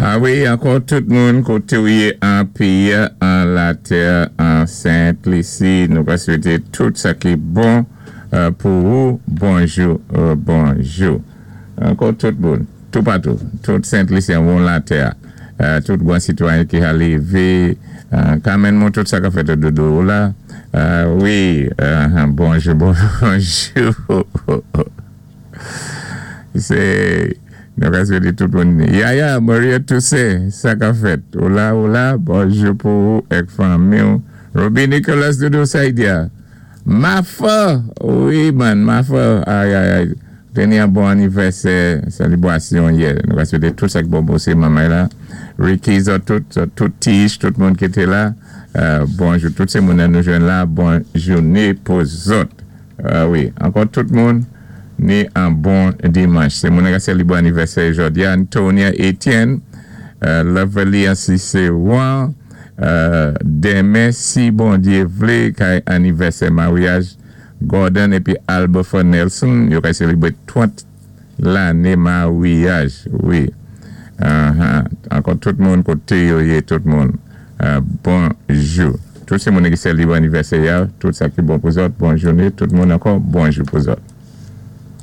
A wi, ankò tout moun koté ou yé an péyi an latè an Sent Lisi, nou ka swété tout sa ki bon pou ou. Bonjou, bonjou. Ankò tout moun, toupatou, tout Sent Lisyen won latè, tout gwan sitwayen ki ha lévé, Carmen moun tout sa ka fèt doudou ou la. Wi, bonjou, bonjou. Sé nou ka swété tout moun. Yaya, Maria Toussaint, sa ka fèt. Ou la, ou la, bonjou pou ou èk fanmi ou. Ruby Nicholas, doudou Saïdia. Mafa, wi man, Mafa, ay ay ay. Té ni an bon anivèsè, sélébwasyon yè. Nou ka swété tout sa ki bon pou sé manmay la. Ricky, zòt tout, zòt tout Tish, tout moun ki té la. Bonjou, tout sé moun nou jwenn la, bon jouné pou zòt. Wi, ankò tout moun ni an bon dimanch. Sé moun ka sélébré anivèsè jòdi a, Antonia Etienne, Lovely Cicéron, denmen si Bondyé vlé kay anivèsè maryaj Gordon épi Albertha Nelson, yo kay sélébré 30 lanné maryaj. Wi. Ankò tout moun koté yo yé, tout moun. Bonjou. Tout sé moun ki sélébré anivèsè ya, tout sa ki bon pou zòt, bon jouné, tout moun ankò, bonjou pou zòt.